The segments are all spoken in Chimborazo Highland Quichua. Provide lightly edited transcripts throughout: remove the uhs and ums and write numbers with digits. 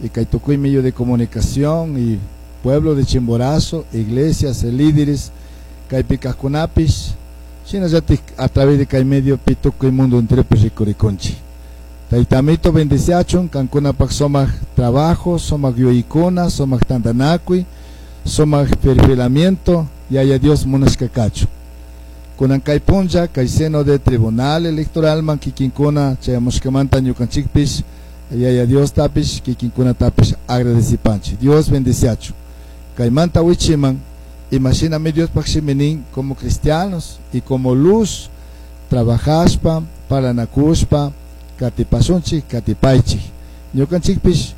Y kay tukuy medio de comunicación y pueblo de Chimborazo, iglesias, líderes, kaypi kajkunapish, shinallatik a través de kay mediopi tukuy mundo enteropi rikurikunchik. Taytamito bendiciachun, kankunapak sumak trabajo, sumak yuyaykuna, sumak tantanakuy, sumak perfilamiento, Yaya Dios munashka kachun. Kunan kay punlla, kay seno de tribunal electoralman kikinkuna chayamushkamanta ñukanchikpish, Yaya Diostapish, kikinkunatapish agradecipanchik. Dios bendiciachun. Kaymanta wichiman, imashinami Diospaj shimi nin, como cristianos y como luz, trabajashpa, parlanakushpa, katipashunchik, katipaychik. Ñukanchikpish,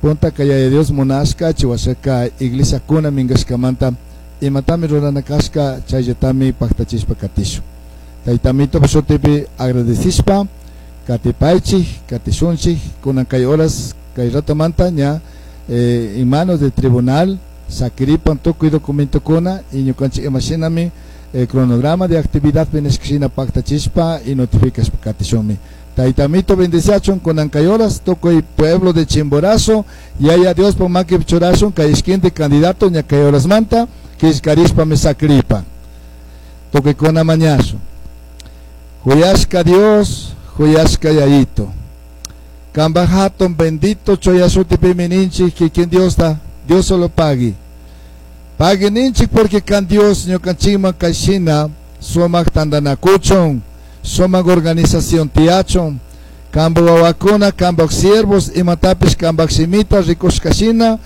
puntaka Yaya Dios munashka, chiwashaka iglesiakuna minkashkamanta, imatami rurana kashka, chayllatami paktachishpa katishun. Taytamito shutipi agradecishpa, katipaychik, katishunchik, kunan kay horas, kay ratomanta ña en manos del tribunal, sakiripan tukuy documentokuna y ñukanchik imashinami cronograma de actividad nishkashina paktachishpa y notificashpa katishunmi. Taytamito bendiciachun kunan kay horas, tukuy pueblo de Chimborazo, Yaya Diospak makipi churashun kay ishkinti candidato ña kay horasmanta, killkarishpami sakiripan. Tukuykuna mañashun. Juyashka Dios, juyashka Yayito. Kambaj hatun bendito chuya shutipimi ninchik kikin Diosta, Dios solo pagui. Pagui ninchik porque kan Dios ñukanchikman kayshina sumak tantanakuchun, sumak organización tiyachun, kambaj wawakuna, kambaj siervos, imatapish kambaj shimita rikushkashina,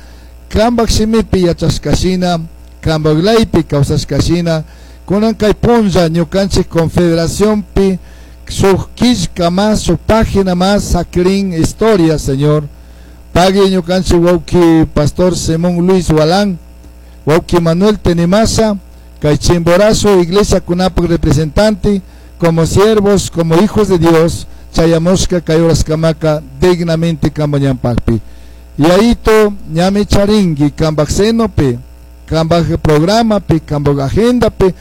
kambaj shimipi yachashkashina, kambaj leypi kawsashkashina, kunan kay punlla ñukanchik confederaciónpi shuk killka más, shuk página más sakirin historia, Señor. Pagui ñukanchik wawki Pastor Simón Luis Walán, wawki Manuel Tenimasa, kay Chimborazo iglesia kunapak representante, como siervos, como hijos de Dios, chayamushka kay horaskamaka dignamente kambañanpakpi. Yayito ñami charinki kambaj senopi, kambaj programapi, kambaj agendapi,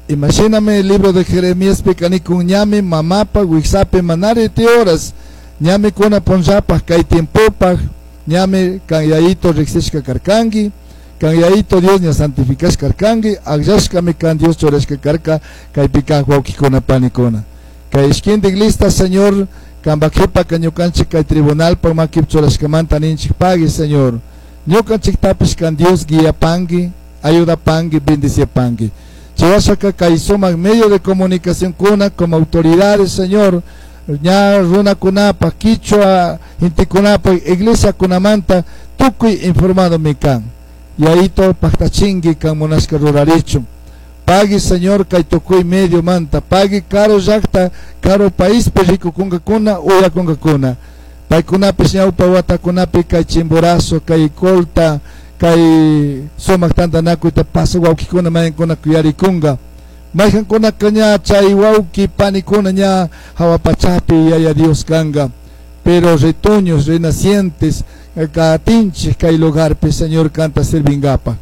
imashinami el libro de Jeremías pi kanikun ñami mamapa wiksapi manari ti horas, ñami kuna punllapaj kay tiempopaj, ñami kan Yayito riksishka karkanki, kan Yayito Dios ña santificashka karkanki, akllashkami kan Dios churashka karka, kaypi kaj wawkikuna panikuna. Kay ishkintik lista, Señor, kambaj qhipaka ñukanchik kay tribunalpak makipi churashkamanta ninchik pagui, Señor. Ñukanchiktapish kan Dios guiapanki, ayudapanki, bendiciapanki. Chiwashaka kay sumak medio de comunicación kuna como autoridades, Señor, ña runakunapaj, quichua gentekunapaj, iglesia kunamanta, tukuy informado mi kan. Yayito paktachinki kan munashka rurarichun. Pagui, Señor, kay tukuy medio manta, pagui karu llakta, karu paispi rikukunkakuna, uyakunkakuna. Paykunapish ñawpa watakunapi kay Chimborazo, kay Colta, kay sumak tantanakuyta pasaq wawkikuna mayankuna kuyarikunka. Mayqankunaka ña chay wawki panikuna ña hawa pachapi Yaya Dios kanka. Pero retoños, renacientes, katinchik kay lugarpi, Señor, kanta sirvingapaj.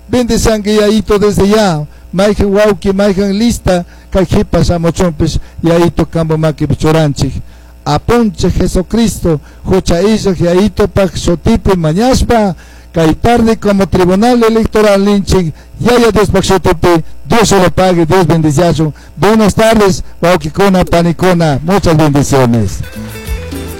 Bendecianki Yayito desde ya, mayqan wawki, mayqan lista, kay qhipa shamuchunpish Yayito kampa makipi churanchik. Apunchik Jesucristo, hucha illaj Yayitopaj shutipi mañashpa, kay tarde como tribunal electoral ninchik, Yaya Diospaj shutipi, Dios se lo pague, Dios bendiciachun. Buenas tardes, wawkikuna, panikuna, muchas bendiciones.